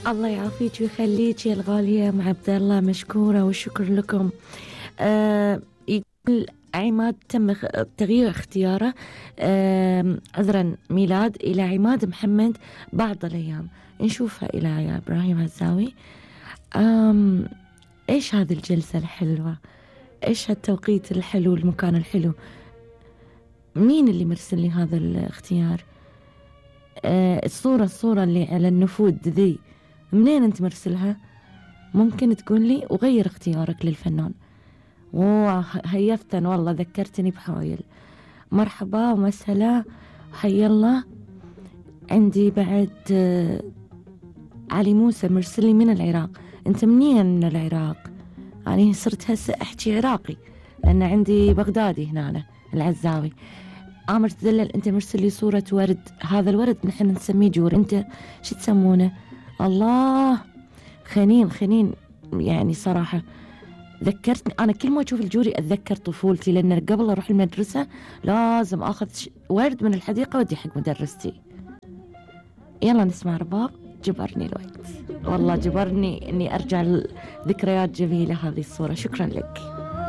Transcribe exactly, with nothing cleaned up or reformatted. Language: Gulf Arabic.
الله يعافيك ويخليك يا الغالية أم عبد الله، مشكورة والشكر لكم. آه يقول عماد تم تغيير اختياره آه عذرا ميلاد إلى عماد محمد بعض الأيام، نشوفها إلى يا إبراهيم عزاوي. آم إيش هذه الجلسة الحلوة، إيش هالتوقيت الحلو، المكان الحلو، مين اللي مرسل لي هذا الاختيار؟ آه الصورة الصورة اللي على النفود ذي منين أنت مرسلها؟ ممكن تقول لي وغير اختيارك للفنان. وهيفتن والله، ذكرتني بحايل. مرحبا ومسهلا، حي الله. عندي بعد آه علي موسى مرسلي من العراق. أنت منين من العراق؟ يعني صرت هسه أحكي عراقي لأن عندي بغدادي هنا العزاوي. عامر تدلل أنت مرسل لي صورة ورد، هذا الورد نحن نسميه جور، أنت شو تسمونه؟ الله، خنين خنين. يعني صراحة ذكرتني أنا كل ما أشوف الجوري أتذكر طفولتي، لأن قبل أروح المدرسة لازم أخذ ورد من الحديقة ودي حق مدرستي. يلا نسمع رباب، جبرني الوقت والله، جبرني أني أرجع لذكريات جميلة هذه الصورة. شكرا لك.